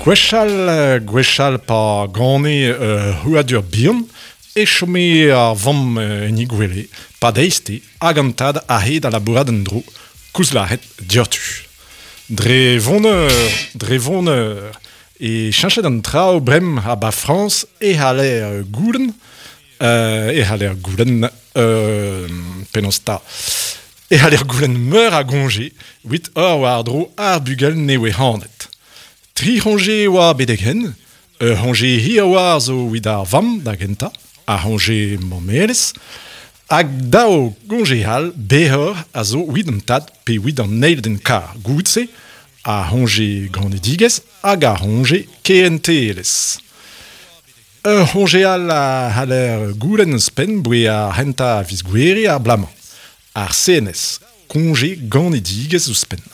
Gwechall, gwechall pa gane ur c'hrouadur bihan e chome ar vamm en he gwele, pa deizte hag an tad aze da labourat en-dro, koulz lâret dioc'htu. Dre voneur, dre voneur e cheñchet an traoù bremañ ha 'ba Frañs e c'haller goulenn, e c'haller goulenn penaos 'ta e c'haller goulenn meur a goñje evit ober war-dro ar bugel nevez-c'hanet. Tri c'hoñje e oa betek-henn, ur c'hoñje hir a oa zo evit ar vamm da gentañ, ar c'hoñje mammelezh, hag daou goñje all berroc'h a zo evit an tad pe evit an eil den kar goude-se, ar c'hoñje ganedigezh hag ar c'hoñje kehentelezh. Ur c'hoñje all a c'haller goulenn ouzhpenn boe ar c'hentañ a viz Gouere ar bloaz-mañ, ar CNS, koñje ganedigezh ouzhpenn.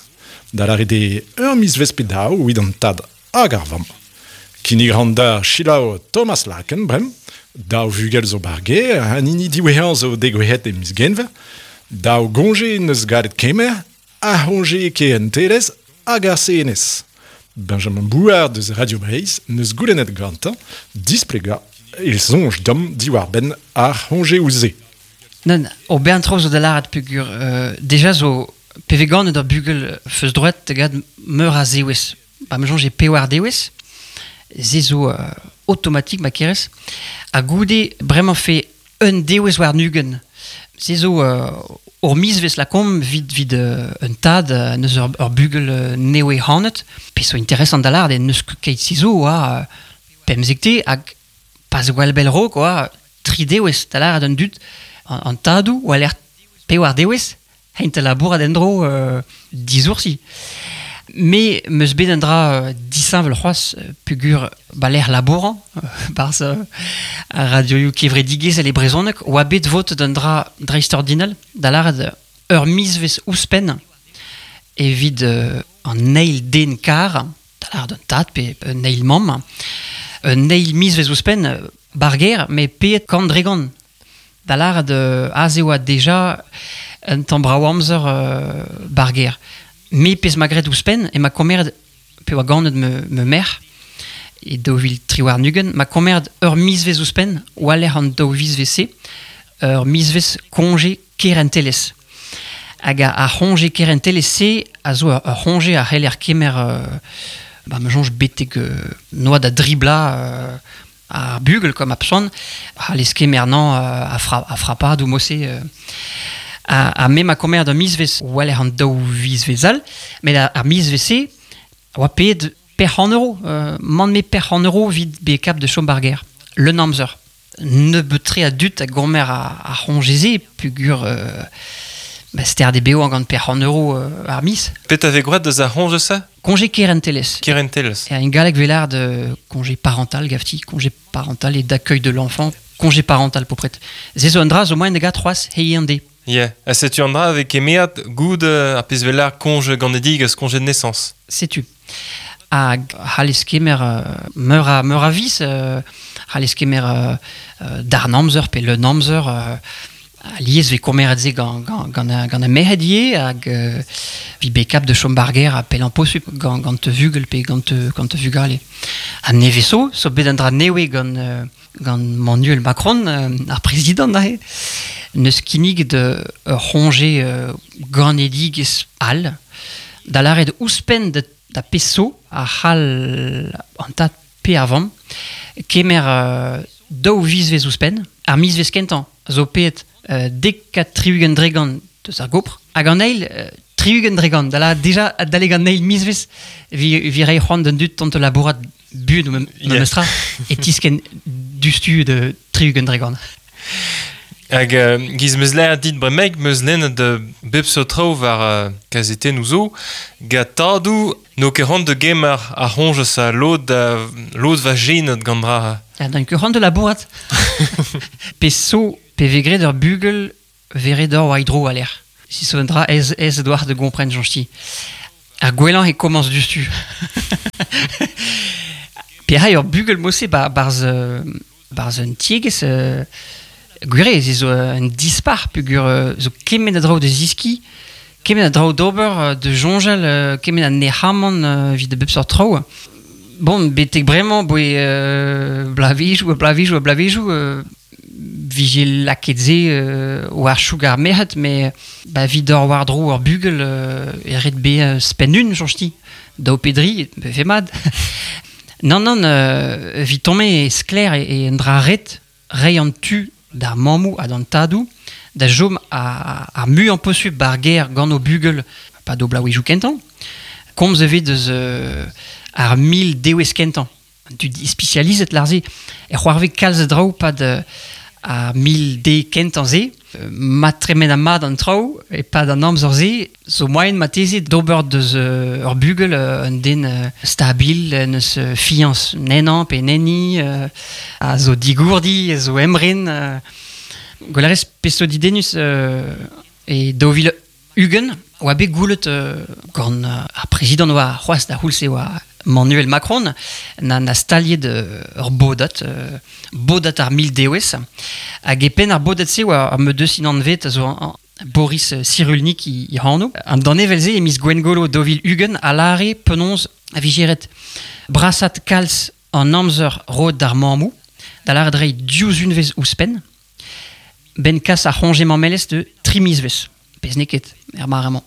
Da lâret eo ur mizvezh pe daou evit an tad hag ar vamm. Kinnig a ran da selaou Thomas Laken bremañ. Daou vugel zo ba'r gêr, an hini diwezhañ zo degouezhet e miz Genver. Daou goñje 'neus gallet kemer, ar c'hoñje kehentelezh hag ar CNS. Benjamin Bouard deus Radio Breizh 'neus goulennet gantañ displegañ e soñj deomp diwar-benn ar c'hoñjeoù-se. Nann, ur bern traoù zo da lâret peogwir deja zo pe vez ganet ur bugel feus droed da gad meur a zewezh. Ba ma soñj eo pewar dewezh. Se zo automatik ma kerez. Ha goude bremañ fe un dewezh warn-ugent. Se zo ur mizvezh lakaomp 'vit 'vit un tad neus ur, ur bugel nevez c'hanet. Pezh zo interesant da lâret eo n'eus ket keit-se zo oa pemzekte hag pas gwall bell 'raok oa tri dewezh da lâret an dud an tadoù war-lerc'h pewar dewezh Hent labourat en-dro disoursi. Me 'meus bet un dra disheñvel c'hoazh peogwir ba lec'h labourañ 'barzh ar radioioù kevredigezhel e brezhoneg oa bet votet un dra dreistordinal da lâret ur mizvezh ouzhpenn evit an eil den kar, da lâret un tad pe un eil mamm, un eil mizvezh ouzhpenn ba'r gêr met paeet kant dre gant. Da lâret aze oa deja un tamm brav amzer ba'r gêr. Me pezh 'ma graet ouzhpenn ema komeret pe oa ganet ma ma merc'h e 2023 'ma komeret ur mizvezh ouzhpenn war-lerc'h an daou vizvezh-se, ur mizvezh koñje kerentelezh. Hag ar c'hoñje kerentelezh-se a zo ur c'hoñje a c'heller kemer ba ma soñj betek noa da dri bloaz ar bugel kwa ma pson c'hallez kemer nañ a, fra, a frapadoù mod-se ha, ha me ma komer da mizvezh war-lerc'h an daou vizvezh all met ar mizvezh-se a oa paeet pec'h euro man me pec'h euro evit bezañ kap da chom ba'r gêr leun amzer nebeut-tre a dud a gomer ar c'hoñje-se peogwir ba sterd eo bevañ gant pec'h euro ar miz. Petra vez gwraet deus ar c'hoñje-se? Congé kerentelezh. Kerentelezh. En galleg 'vez lâret congé parental gavti, congé parental et d'accueil de l'enfant, congé parental popret. Se zo un dra zo moaien da gat c'hoazh hiziv an deiz. Yeah. Ha setu an dra a vez kemerat goud ar pezh 'vez lâret congé ganedigezh, congé de naissance. Setu. Hag c'hallez kemer meur a, meur a viz, c'hallez kemer darn amzer pe leun amzer Alies 'vez komeret se gant, gant, gant, gant ar merc'hed ivez hag evit bet kap da chom ba'r gêr ha pellañ posupl gant, gant vugel pe gant, gant vugale. Ha nevez zo, zo bet un dra nevez gant, gant Manuel Macron, ar prezidant aze, neus kinniget ur c'hoñje ganedigezh all, da lâret ouzhpenn da, da pezh zo a c'hall an tad pe ar vamm kemer daou vizvezh ouzhpenn. Ar mizvezh kentañ zo paeet 70% deus ar gopr hag an eil 60% da lâret deja adalek an eil mizvezh vi reiñ c'hoant d'an dud tont da labourat buan memes tra e tiskenn diouzhtu da 60%. Hag giz 'meus lâret dit bremaik 'meus lennet bep seurt traoù war kazetennoù zo gant tadoù N'eo ket c'hoant da gemer ar c'hoñjez ha lod da lod va jenet gant dra. Ha n'eo ket c'hoant da labourat. Pe so, pe vez graet ur bugel vez ret d'or war-dro a-lec'h. Si so un dra aes, aes a-doar da gompren, soñj-ti. Ar gwellañ e komañs diouzhtu. Pe ray ur bugel mod-se ba, barzh, barzh un tiegezh, gwir eo, se zo un dispac'h peogwir zo kement a draoù da zeskiñ, kement a draoù d'ober, da soñjal, kement a nec'hamant evit a bep seurt traoù. Bon, betek bremañ boe blavezioù ha blavezioù ha blavezioù vije lakaet se war choug ar merc'hed, met ba 'vit d'or war-dro ur bugel e ret bezañ spenn un, soñj-ti. Daou pe dri, vefe mat. Nann, nann, evit tommañ e sklaer e un dra ret reiñ an tu d'ar mammoù ha d'an tadoù da chom ar muiañ posupl ba'r gêr gant o bugel pa-do bloavezhioù kentañ. Komz evit eus ar mil dewezh kentañ. An dud ispisializet lâr-se e c'hoarvez kalz a draoù 'pad ar mil de kentañ-se. Ma tremena mat an traoù e-pad an amzer-se zo moaien marteze d'ober deus ur bugel un den stabil, en deus fiañs ennañ pe enni, a zo digourdi, a zo emren. Gwell a rez pezh zo didennus e 2020 oa bet goulet gant ar prezidant oa c'hoazh da c'houlz-se oa Manuel Macron na staliet ur bodad, bodad ar mil dewezh. Hag e penn ar bodad-se oa ar medeus anvet a zo Boris Cyrulnik i anv. An danevell-se e miz Gwengolo 2020 a lâre penaos a vije ret brasat kalz an amzer roet d'ar mammoù, da lâret reiñ div unvezh ouzhpenn, 'benn kas ar c'hoñje mammelezh de tri mizvezh. Pezh n'eo ket er mare-mañ.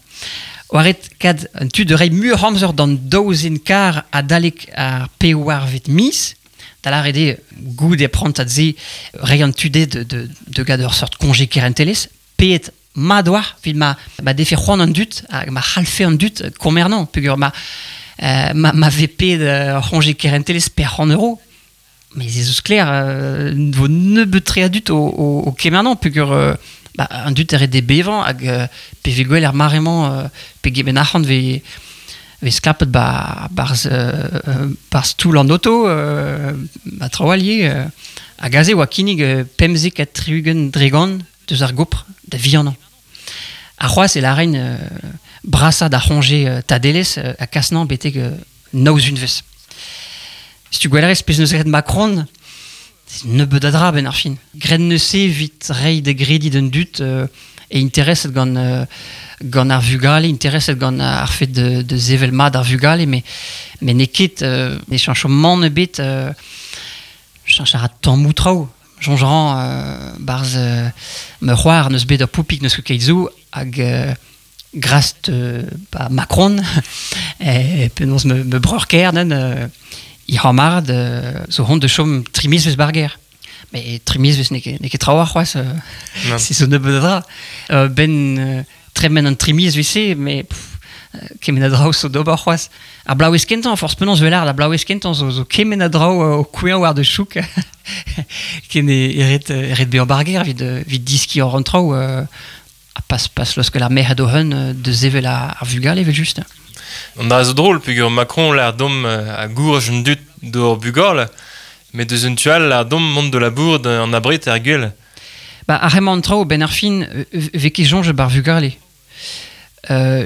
Oa ret kad an tu da reiñ muioc'h amzer d'an daou zen kar adalek ar pevarvet miz, da lâret eo goude prantad-se reiñ an tu dezhe de gad ur seurt koñje kerentelezh, paeet mat oa evit ma defe c'hoant an dud hag ma c'hallfe an dud komernañ peogwir ma vez paeet ur c'hoñje kerentelezh per c'hant euro. Mais ez eus sklaer, vo nebeut-tre a dud o kemernañ peogwir ba, an dud a ret d'e bevañ hag pe vez gwell er mare-mañ pegement arc'hant vez sklapet ba barzh barzh toull an oto ba traoù all ivez. Hag aze oa kinnig 75% deus ar gopr da vihanañ. Ha c'hoazh e lâren brasañ d'ar c'hoñje tadelezh ha kasnañ betek nav unvezh. Setu gwell a rez pezh 'neus graet Macron, nebeut a dra 'benn ar fin. Graet 'neus-se evit reiñ da grediñ d'an dud e intereset gant ar vugale, intereset gant ar fed de sevel mat ar vugale, met n'eo ket ne cheñcho mann ebet, cheñch a ra tammoù traoù. Soñj a ran 'barzh ma c'hoar 'neus bet ur poupig n'eus ket keit zo hag grast ba Macron penaos ma breur-kaer neuze he c'hamarad zo hont da chom tri mizvezh 'bar gêr. Met tri mizvezh n'eo ket trawalc'h c'hoazh, se zo nebeut a dra. 'Benn tremen an tri mizvezh-se, met kement a draoù zo d'ober c'hoazh. Ar bloavezh kentañ, forzh penaos 'vel ar bloavezh kentañ zo kement a draoù o kouezhañ war da chouk ken e ret bezañ 'bar gêr evit diskiñ hor an traoù. Ha pas laoskel ar merc'hed o-hun da sevel ar vugale evel-just. An dra zo drol peogwir Macron lâr deomp a gourj an dud d'hor bugale, met deus un tu all lâr deomp mont da labourat an abred er gwel. Ba, ar hemañ an traoù, 'benn ar fin, 'vez ket soñjet 'bar vugale.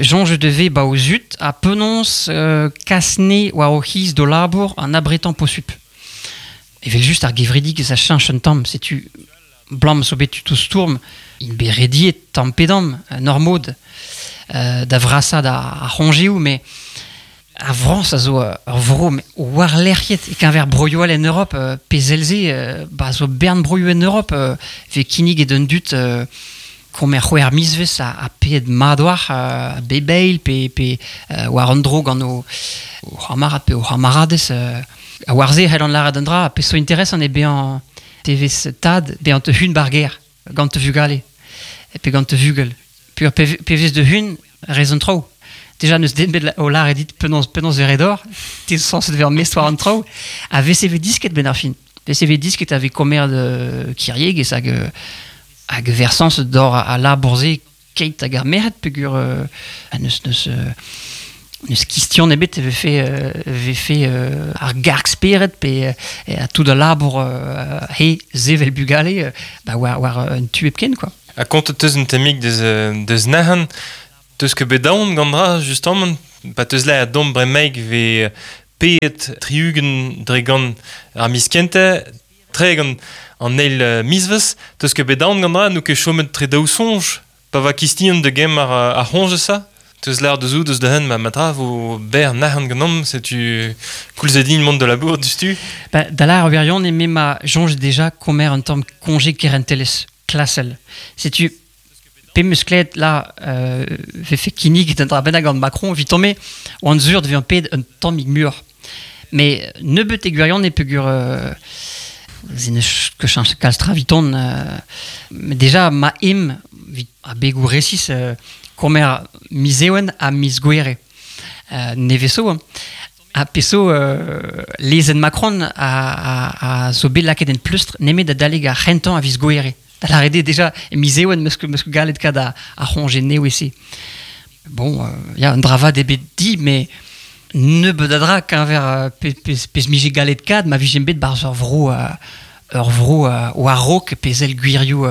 Soñjet e vez 'ba o zud ha penaos kas 'ne war o c'hiz d'o labour an abretañ posupl. Evel-just ar gevredigezh a cheñch un tamm, setu 'blam zo bet tud o stourm, int bet rediet tamm pe damm, en ur mod, da vrasaat ar c'hoñjeoù, met ar Frañs a zo ur vro warlerc'hiet e-keñver broioù all en Europ, pe sell-se, ba zo bern broioù en Europ, 'vez kinniget d'an dud komer c'hwec'h mizvezh ha paeet mat war bep eil pe war an dro gant o c'hamarad pe o c'hamaradez. Ha war se e c'hellan lâret un dra, pezh zo interesant eo bezañ te vez tad bezañ te hun 'bar gêr gant te vugale pe gant te vugel. Peogwir pe vez de hun rez an traoù. Déjà n'eus den bet o lâret dit penaos e ret d'or, te zo sañset vezañ mestr war an traoù, ha vez e vez disket 'benn ar fin. Vez e vez disket a vez komer kiriegezh hag versañs d'or al labour-se keit hag ar merc'hed peogwir n'eus kistion ebet e vefe ar garg-spered pe tout al labour he sevel bugale ba war un tu hepken quoi. Ha kontet 'teus un tammig deus Nahan, 'teus ket bet aon gant dra justamant pa 'teus lâret deomp bremaik 'vez paeet 60% ar miz kentañ, 30 an eil mizvezh, 'teus ket bet aon gant dra n'out ket chomet tre daou soñj pa va kistion da gemm ar c'hoñj eus ça? Teus l'ar deus deus da hen ma matra vo ber nac'han ganom, setu koulz din mont de labour dustu. Ba, da l'ar wirion e me ma jonge déjà komer un tamm congé kerentelez klasel. Setu pe meus klet la vefe kinnig d'un dra bennak gant Macron evit tomme oan zur de ped un tammig mur. Mais nebeut e gwirion e pegur ze neus ket chañs kalz tra viton mais déjà ma em vit a begou resis komer mizewen a miz gwere. Neveso, hein. A peso lezenn Macron a zo bet lakaet en pleustr nemet da daleg ar c'hentañ a viz gwere. Da lâret eo déjà e mizewen meus ket galet kad a c'hoñje nevez-se. Bon, ya, un dra vat eo bet di, mais nebeut a dra keñver pezh mije galet kad ma vijen bet barzh ur vro war-raok pe sell gwirioù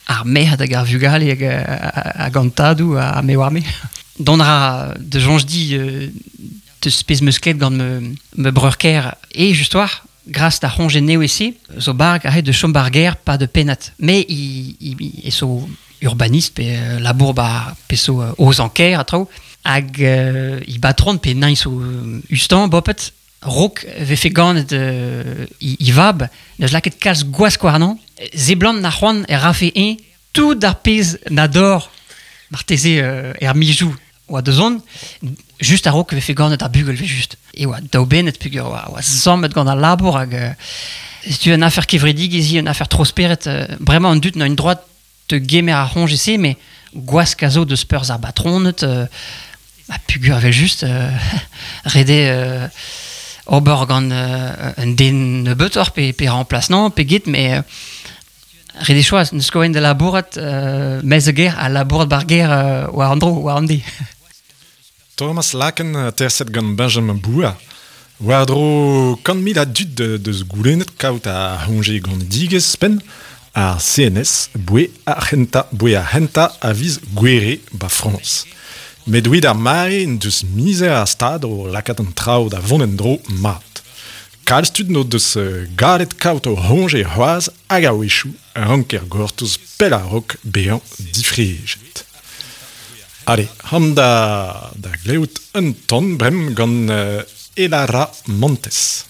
ar merc'hed hag ar vugale hag an tadoù ha me oar me. Dont a ra da soñj di deus pezh 'meus klevet gant ma breur-kaer e just war gras d'ar c'hoñje nevez-se zo barg aze da chom ba'r gêr pa de pennad. Me i e zo urbanist pe labour ba pe zo aozañ kêr ha traoù hag i batron pe nañ zo ustan bopet raok vefe ganet i vab neus lakaet kalz gwask warnañ seblant na c'hoant e rafe eñ tout ar pezh na dor marteze er mizoù oa da zont just a-raok vefe ganet ar bugel ve just e oa daoubennet peogwir oa sammet gant al labour hag setu un afer kevredigezh un afer tro-spered bremañ an dud n'a un droad da gemer ar c'hoñje-se mais gwask a zo deus perzh ar batroned ha peogwir evel-just ret eo ober gant un den nebeutoc'h pe remplaçant pe get mais ret eo choaz n'eus ket da labourat maez a gêr ha labourat ba'r gêr war an dro war an deiz. Thomas Laken terset gant Benjamin Boua. War-dro 100 000 a dud deus goulennet kaout ar c'hoñje ganedigezh penn ar CNS boe ar c'hentañ a viz Gouere ba Frañs. Met evit ar mare en deus mizer ar stad o lakaat an traoù da vont en-dro mat. Kalz tud n'o deus gallet kaout o c'hoñje c'hoazh hag a-wechoù ranker gortoz pell a-raok bezañ difrejet. Allez, han da glevout un tamm bremañ gant Elara Montes.